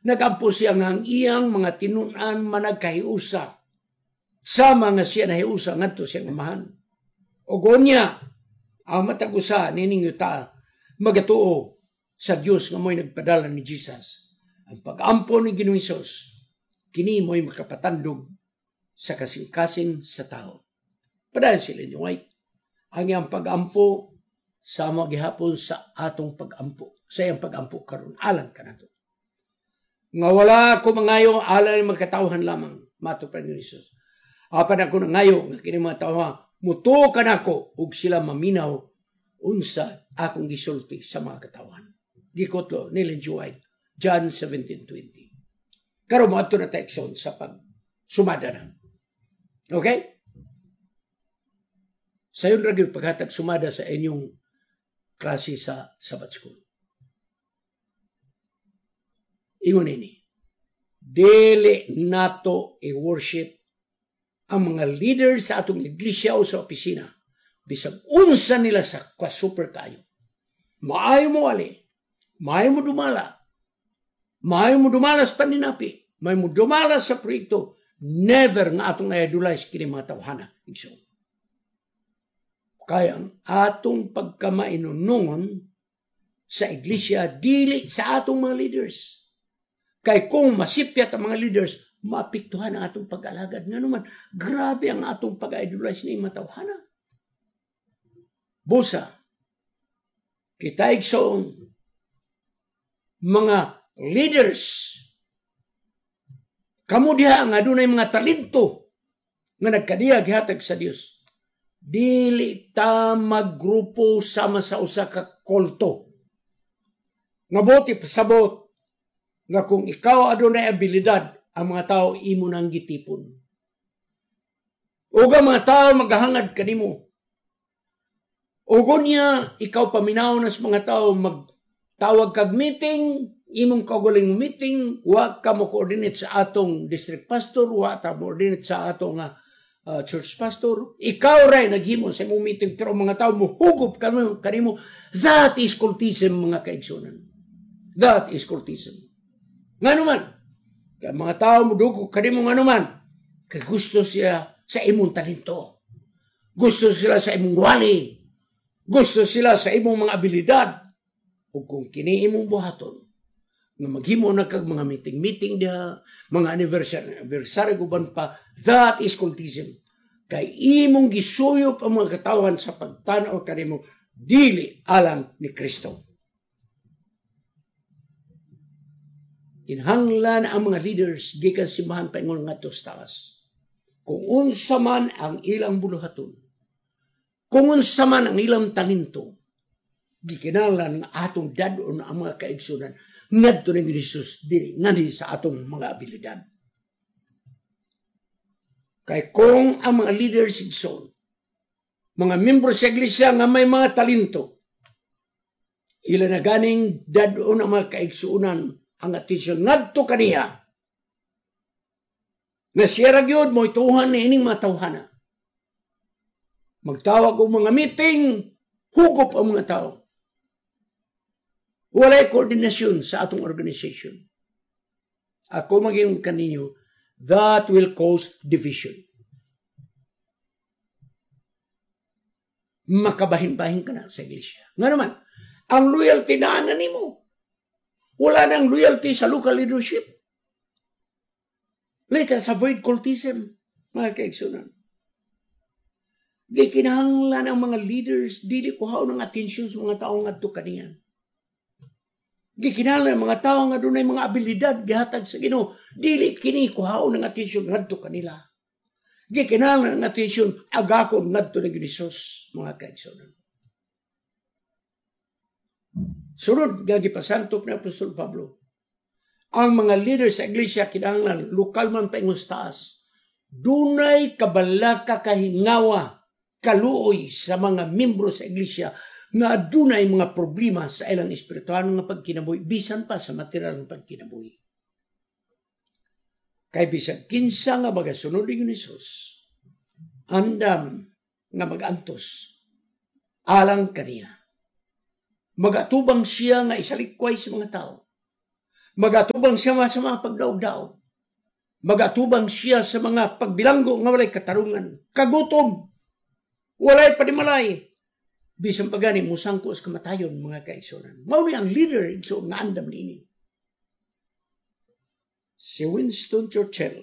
Nagampo siya nga ang iyang mga tinun-an managkahiusa sama nga siya nahiusa ngadto sa iyang Amahan. O gonya, ang matag usa nining yuta magatuo sa Dios nga mo'y nagpadala ni Jesus. Ang pag-ampo ni Ginoong Hesus, kini mo'y makapatandog sa kasing-kasing sa tao. Padayon si Ellen White, ang iyang pag-ampo sama gihapon sa atong pag-ampo, sa iyang pag-ampo karon alang kanato. Nga wala ko mangayo alang ni magkatawhan lamang, mato pa ni Jesus. Apan ako nangayo nga kini mga tawhan mutuo kanako ug sila maminaw unsa akong gisulti sa mga katawhan. Gikutlo ni Ellen G. White, John 17:20. Karon moadto na ta, igsoon, sa pag sumada na. Okay? Sayon ra gyud paghatag sumada sa inyong klase sa Sabbath School. Ingon ini, dili nato i-worship ang mga leaders sa atong iglesia o sa opisina. Bisag unsa nila sa ka-super kayo. Maayo mo ali, maayo mo dumala, maayo mo dumala sa paninapi, maayo mo dumala sa proyekto, never nga atong idolize kini mga tawhana. Igsoon. Kaya ang atong pagkamainunungon sa iglesia, dili sa atong mga leaders. Kay kung masipyat ang mga leaders, maapektuhan ang atong pag-alagad. Nga naman, grabe ang atong pag-idolize ni mga tawhana. Busa, kita, igsoon, mga leaders, kamo diha nga adunay mga talento nga nagkadiya gihatag sa Dios. Dili ta maggrupo sama sa usa ka kulto. Nga buot ipasabot nga kung ikaw adunay abilidad, ang mga tao imo nang gitipon. Ug ang mga tao magahangad kanimo. Ug unya ikaw paminaw na sa mga tao, magtawag kag meeting, imong kaugaling meeting, wa ka mo coordinate sa atong district pastor, wa ta mo coordinate sa atong church pastor. Ikaw ray naghimo sa imong meeting pero mga tao mo hugup kanimo kanimo. That is cultism, mga kaigsunan. That is cultism. Ngano man? Kay mga tao mo dugo kanimo, ngano man? Kay gusto siya sa imong talento. Gusto sila sa imong wali. Gusto sila sa imong mga abilidad. Ug kung kini imong buhaton, nga maghimo na kag mga meeting-meeting diha, mga anniversary, anniversary uban pa, that is cultism. Kay imong gisuyop ang mga katawan sa pagtanaw kanimo dili alang ni Kristo. Kinahanglan ang mga leaders gikan simbahan paingon ngadto sa taas. Kung unsa man ang ilang buluhaton, kung unsa man ang ilang talento, gikinahanglan nga atong dad-on ang mga kaigsunan ngadto ni Jesus, dili nganhi sa atong mga abilidad. Kay kung ang mga leaders, igsoon, mga membro sa iglesia nga may mga talento, ila na ganing dad-on ang mga kaigsuonan ang atensyon ngadto kaniya. Nga siya ra gyud mo'y tuhan ni ining mga tawhana. Magtawag og mga meeting, hugop ang mga tao. Walay koordinasyon sa atong organization. Ako maging kaninyo, that will cause division. Makabahin-bahin ka na sa iglesia. Nga naman, ang loyalty na ana nimo. Wala nang loyalty sa local leadership. Let us avoid cultism, mga kaigsunan. Di kinahanglan ang mga leaders, dili kuhaon ang atensyon sa mga tao ngadto kaniya. Di kinahanglan ang mga tao nga dunay mga abilidad gihatag sa Ginoo, dili kini kuhaon ang atensyon ngadto kanila. Di kinahanglan ang atensyon agakon ngadto ni Jesus, mga kaigsunan. Sunod nga gipasantop ni Apostol Pablo, ang mga leaders sa iglesia kinahanglan lokal man paingon sa taas, dunay kabalaka, kahingawa, kaluoy sa mga membro sa iglesia nga adunay mga problema sa ilang espiritual nga pagkinabuhi bisan pa sa material nga pagkinabuhi. Kay bisag kinsa nga magasunod ni Jesus, andam nga magantos alang kaniya. Magatubang siya nga isalikway sa mga tao. Magatubang siya sa mga pagdaog-daog. Magatubang siya sa mga pagbilanggo nga walay katarungan. Kagutom. Walay panimalay. Bisan pa gani musangko sa kamatayon, mga kaigsunan. Mao ni ang leader, igsoon, nga andam niini. Si Winston Churchill,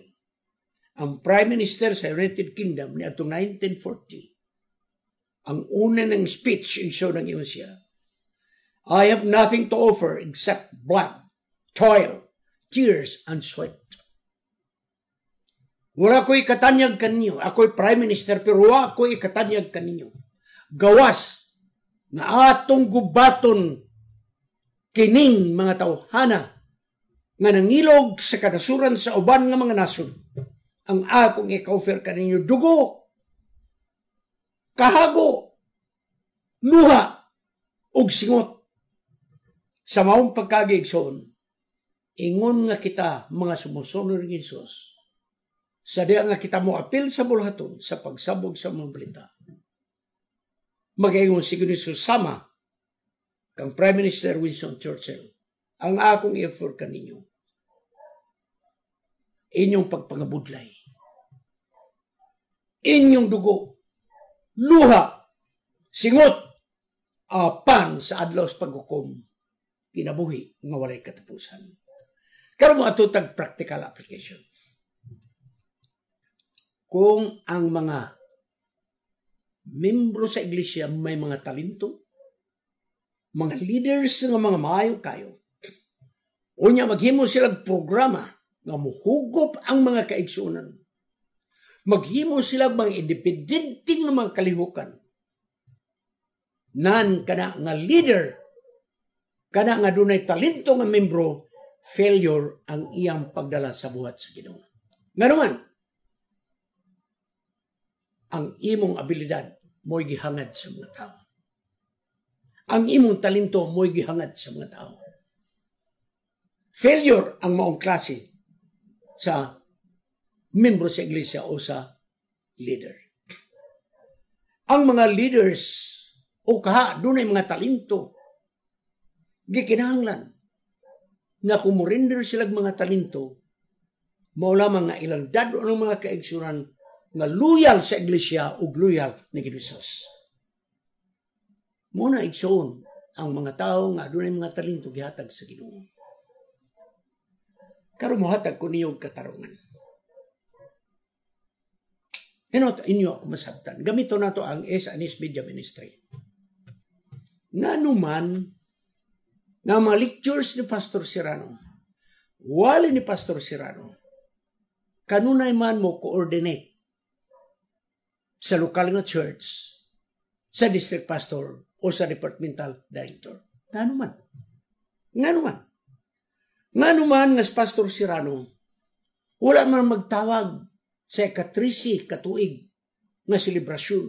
ang Prime Minister sa United Kingdom niadtong 1940. Ang una ng speech, igsoon, ang ingon siya, "I have nothing to offer except blood, toil, tears, and sweat." Wala ko'y katanyag kaninyo. Ako'y Prime Minister pero wala ko'y katanyag kaninyo. Gawas nga atong gubaton kining mga tawhana nga nangilog sa kanasuran sa uban nga mga nasod. Ang akong ika-offer kaninyo, dugo, kahago, luha, ug singot. Sa maong pagkaagi, igsoon, ingon nga kita mga sumusunod ni Jesus, sa diya nga kita mo apil sa buluhaton sa pagsabog sa mga balita, magaingon si Jesus sama kang Prime Minister Winston Churchill, "Ang akong i-offer kaninyo, inyong pagpangabudlay, inyong dugo, luha, singot, apan sa adlaw sa paghukom, kinabuhi nga walay katapusan." Karon mo ato tag practical application. Kung ang mga membro sa iglesia may mga talento, mga leaders nga mga maayo kayo, unya maghimo sila programa nga muhugop ang mga kaigsunan. Maghimo sila mga independente nga mga kalihukan. Nan kana nga leader, kana nga dunay talento nga membro, failure ang iyang pagdala sa buhat sa Ginoo. Nganuman, ang imong abilidad mo'y gihangad sa mga tao. Ang imong talento mo'y gihangad sa mga tao. Failure ang maong klase sa membro sa iglesia o sa leader. Ang mga leaders o kaha dunay mga talento, gikinahanglan nga kung mo-render sila mga talento, mao lamang nga ilang dado ng mga kaigsunan nga loyal sa iglesia ug loyal ni Jesus. Muna, igsoon, ang mga tao nga adunay mga talento gihatag sa Ginoo. Karon mohatag ko niyo katarungan. Hinot inyo ako masabtan. Gamito nato ang S&S Media Ministry. Ngano man nga mga lectures ni Pastor Serrano, wali ni Pastor Serrano, kanunay man mo coordinate sa lokal nga church, sa district pastor, o sa departmental director? Ngano man? Ngano man? Ngano man nga si Pastor Serrano, wala man magtawag sa ika-13 katuig nga selebrasyon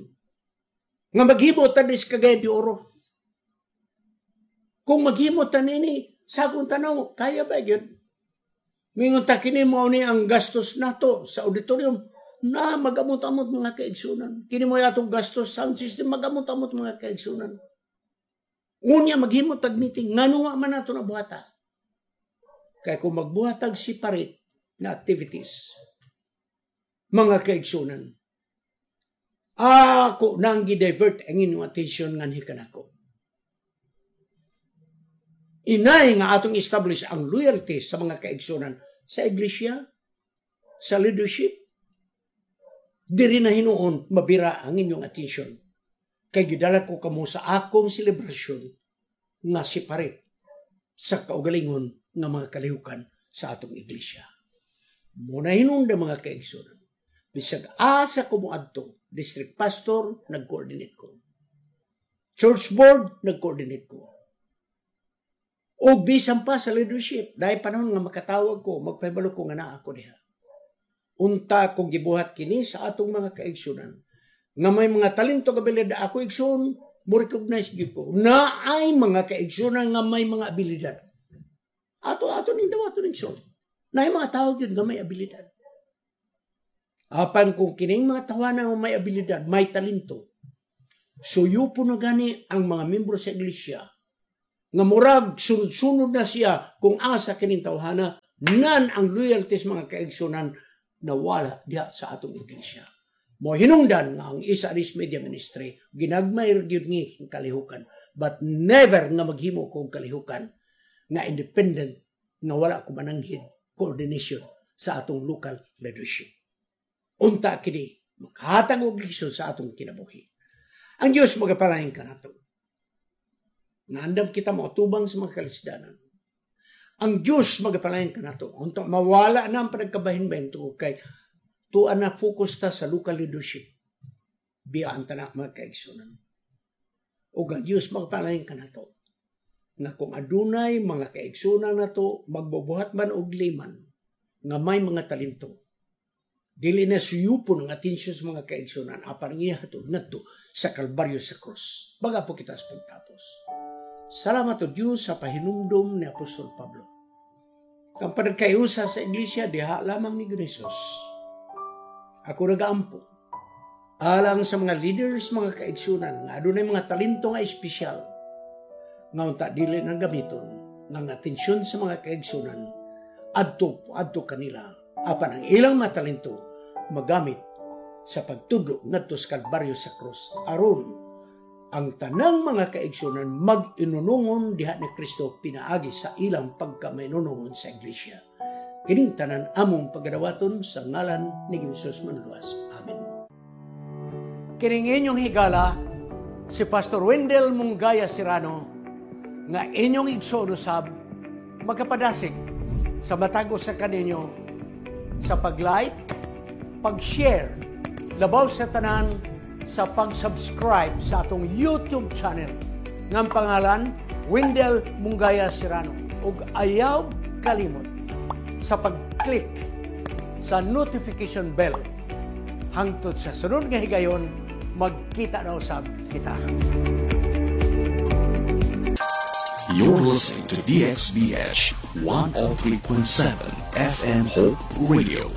nga maghimo ta sa Cagayan de Oro? Kung maghimo ta nini, sa akong tanaw, kaya ba yun? Mingon ta kini mo ni ang gastos nato sa auditorium na magamot-amot, mga kaigsunan. Kini mo atong gastos sound system, magamot-amot, mga kaigsunan. Ngunya maghimo tag meeting, ngano nga man nato na buhata? Kay kung magbuhat tag separate na activities, mga kaigsunan, ako nang gi-divert ang inyong attention nganhi kanako. Inay nga atong establish ang loyalty sa mga kaigsunan sa iglesia, sa leadership, diri na hinuon mabira ang inyong attention. Kay gidala ko kamo sa akong selebrasyon nga separate sa kaugalingon nga mga kalihukan sa atong iglesia. Muna hinungda, mga kaigsunan. Bisag asa ko moadto, district pastor, nag-coordinate ko. Church board, nag-coordinate ko. O bisan pa sa leadership, dahil panahon nga makatawag ko, magpahibalo ko nga naa ako diha. Unta kung gibuhat kini sa atong mga kaigsunan, nga may mga talento abilidad ako, igsoon, mo recognize gyud ko. Na ay mga kaigsunan nga may mga abilidad. Ato ato ning dawato ning igsoon. Na ay mga tao gyud nga may abilidad. Apan kung kining mga tawana nga may abilidad, may talento, suyo po na gani ang mga membro sa iglesia. Nga murag sunod-sunod na siya kung asa kining tawhana nan ang loyalty sa mga kaigsunan nawala diha sa atong iglesia. Mo hinungdan nga ang Isa Aris Media Ministry ginagmay gyud ni ang kalihukan, but never nga maghimo ko og kalihukan nga independent nga wala ko mananghid coordination sa atong local leadership. Unta kini makahatag og leksyon sa atong kinabuhi. Ang Dios magapalain kanato. Naandam kita moatubang sa mga kalisdanan. Ang Dios magapalain kanato. Unta mawala na ang panagkabahin-bahin tungod kay tuan na focus ta sa local leadership. Biyaan ta na mga kaigsunan. O ang Dios magapalain kanato. Nga kung adunay mga kaigsunan nato magbubuhat man og liman nga may mga talento, dili na suyupon ang atensyon sa mga kaigsunan apan ihatod ngadto sa Kalbaryo, sa cross. Baga po kita sa pagtapos. Salamat o Diyos sa pahinumdum ni Apostol Pablo. Ang panagkayusa sa iglesia diha lamang ni Jesus. Ako nagaampo alang sa mga leaders, mga kaigsunan nga adunay mga talento nga espesyal nga unta dili na gamiton nga ang atensyon sa mga kaigsunan adto adto kanila apan ang ilang mga talento magamit sa pagtudlo ngadto sa Kalbaryo, sa cross, aron ang tanang mga kaigsunan mag-inunungon diha ni Kristo pinaagi sa ilang pagkamainunungon sa iglesia. Kining tanan among pagadawaton sa ngalan ni Jesus Manluwas. Amen. Kining inyong higala, si Pastor Wendell Mungaya Serrano, nga inyong igsoon usab, magkapadasig sa matag usa kaninyo sa pag-like, pag-share, labaw sa tanan sa pag-subscribe sa atong YouTube channel nga ang pangalan Wendell Mungaya Serrano, ug ayaw kalimot sa pag-click sa notification bell. Hangtod sa sunod nga higayon, magkita na usab kita. You're listening to DXBH 103.7 FM Hope Radio.